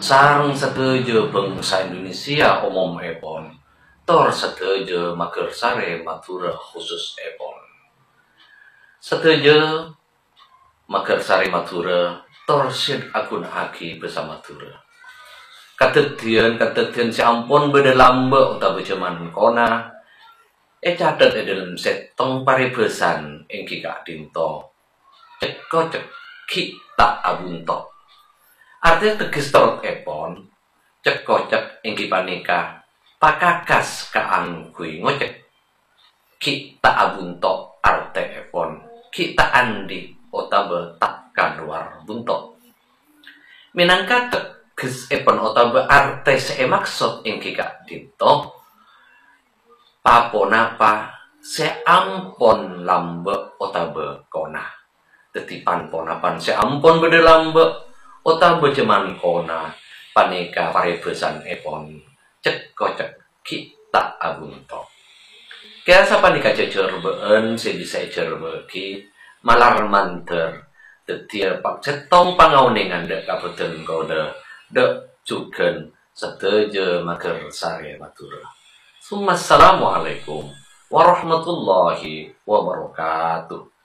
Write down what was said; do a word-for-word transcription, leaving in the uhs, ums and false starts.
Sareng sadhâjâ bhângsa Indonesia omomèpon, tor sadhâjâ Magersari Madhurâ khususèpon. Sadhâjâ Magersari Madhurâ, tor sè aghuna'aghi bhâsa Madhurâ. Kadhâddhiyân-kadhâddhiyân sè ampon bâdâ lambâ' otabâ jhâman kona ècatet è dâlem sèttong parèbhâsan èngghi ka'dinto, cek-kocek ghi' ta' abhunto. Artè tegghes torotèpon, cek-kocek èngghi panèka pakakas kaangghuy ngocek. Ghi' ta' abhunto artèèpon, ghi' ta' andi' otabâ ta' kalowar bunto. Mènangka teggessèpon otabâ artè sè èmaksod èngghi ka'dinto, pa-ponapa sè ampon lambâ' otabâ kona. Dhâddhi pan-ponapan sè ampon bâdâ lambâ' otabâ jhâman kona, panèka parèbhâsanèpon cek-kocek ghi' ta' abhunto. Kèya sapanèka jhâjhârbâ'ân sè bisa èjhârbâ'âghi malar mandhâr dhâddhiyâ pa-, sèttong pangaonèngan dâ' kabâdân kaulâ, dâ' jhughân sadhâjâ Magersari Madhurâ. Summa assalamualaikum warahmatullahi wabarakatuh.